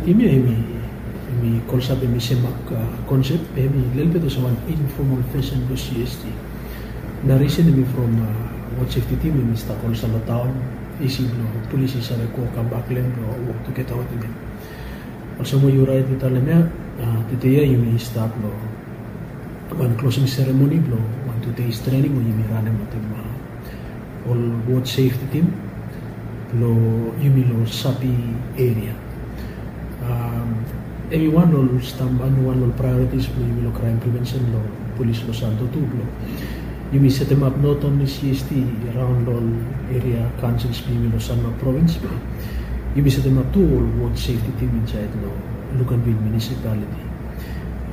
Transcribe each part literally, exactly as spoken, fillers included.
Tim ya hemi, hemi kolsap hemi sem ap konsep, hemi lelebet olsem wan informal version blong C S T. Na risen hemi from wod sefti tim hemi stap olsem long taon, isi blong polis i save go kambak long hem blong wok tugeta wetem hem. Olsem we yu rait i talem ya, tede ya yumi stap long wan closing ceremony blong wan two days training we yumi ranem wetem ol wod sefti tim blong yumi long Sapi eria. Hemi wan long ol stamba, wan long ol priorities blong yumi long crime prevention long polis long Santo tu blong yumi setemap not only C S T raon long ol eria councils blong yumi long Sanma provins, be yumi setemap tu ol wod sefti tim insaed long Luganville municipality.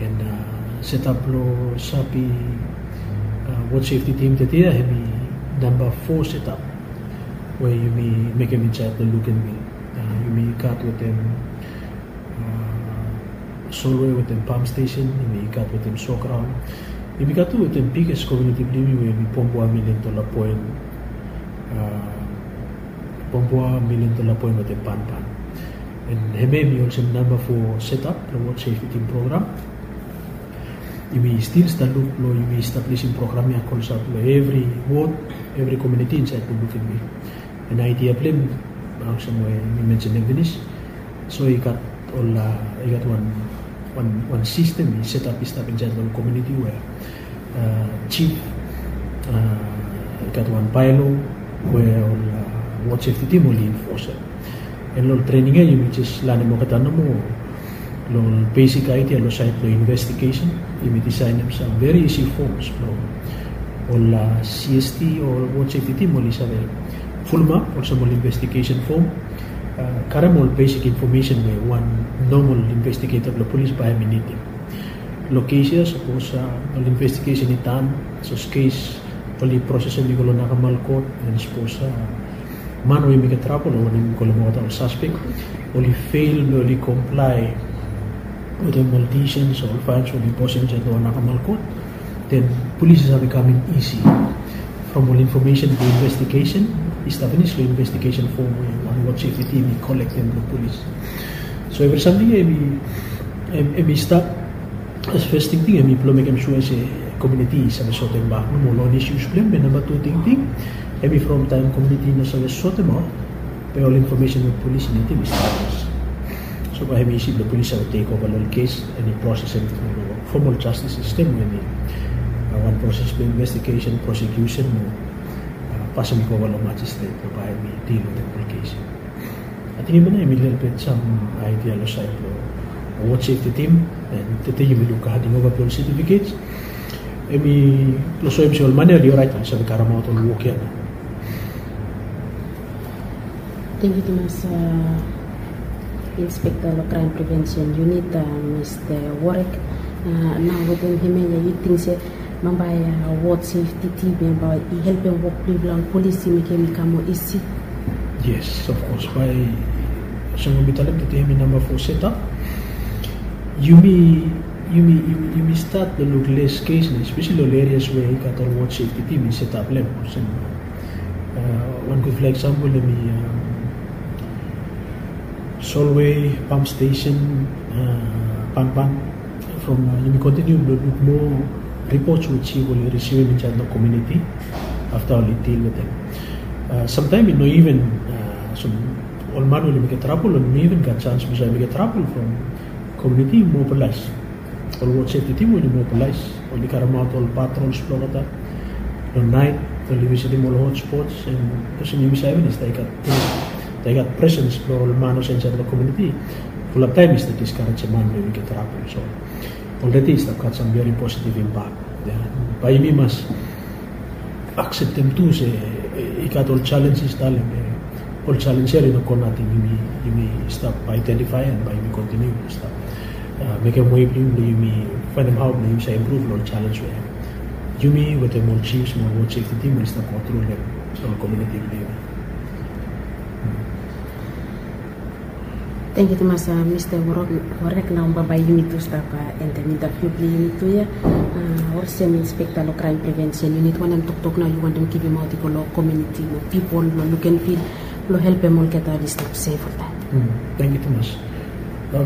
And setap blong Sapi wod sefti tim tede ya hemi namba fo setap we yumi mekem insaed long Luganville. Yumi gat wetem Solway wetem Pump Station, yumi gat wetem Sograon. Yumi gat tu wetem biggest community blong yumi we hemi Pombua, Million Dollar Point, Pombua, Million Dollar Point wetem Panpan. And hemia hemi olsem namba fo setap long wod sefti tim program. Yumi stil stap luk long yumi establisim program ya kolsap long evri wod, evri community insaed long Luganville. And idea blong hem, olsem we mi mensenem finis, so i gat ol, i gat wan, wan sistem i setap i stap insaed long ol community we jif i gat wan baelo we ol wod sefti tim oli infosem. And long ol trening ya yumi jes lanem olgeta nomo long ol besik idea long saed blong investigesen. Yumi disaenem sam very easy forms blong ol C S T o ol wod sefti tim oli save fulumap olsem ol investigesen fom, karem ol besik infomesen we wan nomal investigeta blong polis bae hemi nidim. Long kes ya sapos ol investigesen i dan, sapos kes oli prosesem i go long nakamal kot, and sapos man we i mekem trabol o wanem i go long olgeta ol saspek, oli fel blong oli komplae wetem ol disens o ol faens we oli imposem insaed long nakamal kot, den polis i save kamem isi from ol infomesen blong investigesen i stap finis long investigesen fom we wan wod sefti tim i kolektem blong polis. So evri samting ya hemi stap as fes tingting hemi blong mekem sua se komuniti i save sotem bak nomo ol isius blong hem. Be namba tu tingting hemi from taem komuniti i no save sotem aot, be ol infomesen we polis i nidim i stap. So bae hemi isi blong polis save tekova long ol kes and i prosesem tru long fom ol jastis sistem we hemi wan proses blong investigesen, prosekiusen mo pasem i go ova long majistret blong bae hemi dil wetem ol kes. Ating hemia nao hemi lelebet sam idea long saed blong wod sefti tim. And tede yumi luk handing ova blong ol setifikets. Hemi long soem se ol man ya oli oraet, oli save karemaot ol wok ya nao. Tangkiu tumas, Inspekta long Kraem Prevensen Unit, Mista Warek. Nao wetem hemia ya yu ting se bambae wod sefti tim ya bae i helpem wok blong yufala ol polis i mekem i kam moa isi? Yes, of course. Bae olsem we mi talem tede hemi namba fo setap. Yumi, yumi, yumi stat long luk les kes nao, espeseli ol erias we i gat ol wod sefti tim i setap long hem. Olsem wan gudfala eksampol hemi Solway, Pump Station, Panpan. From yumi kontiniu blong luk moa ripots we jif oli risivim insaed long komuniti afta oli dil wetem. Samtaem i no iven olsem ol man we oli mekem trabol oli no iven gat sans blong save mekem trabol from komuniti i mobilaes. Ol wod sefti tim oli mobilaes, oli karemaot ol patrols blong olgeta long naet, oli visitim ol hotspots, and olsem yumi save finis, taem i gat presens blong ol man olsem insaed long komuniti, fulap taem i stap diskarejem man blong i mekem trabol. So olredi i stap gat sam veri positiv impak. Bae yumi mas akseptem tu se i gat ol jalenjes, talem ol jalenjes ya oli no go nating. Yumi stap aedentifaem and bae yumi kontiniu stap mekem we blong yumi faenem hao blong yumi save impruv long ol jalenjes we yumi wetem ol jifs mo ol wod sefti tim oli stap go tru long ol komuniti blong yumi. Tangkiu tumas, Mista Warek. Nao bambae yumi tu stap endem intaviu blong yumi tu ya. Olsem Inspekta long Kraem Prevensen Unit, wanem toktok nao yu wantem givimaot i go long komuniti, long pipol blong Luganville, blong helpem olgeta oli stap sef oltaem? Tangkiu tumas.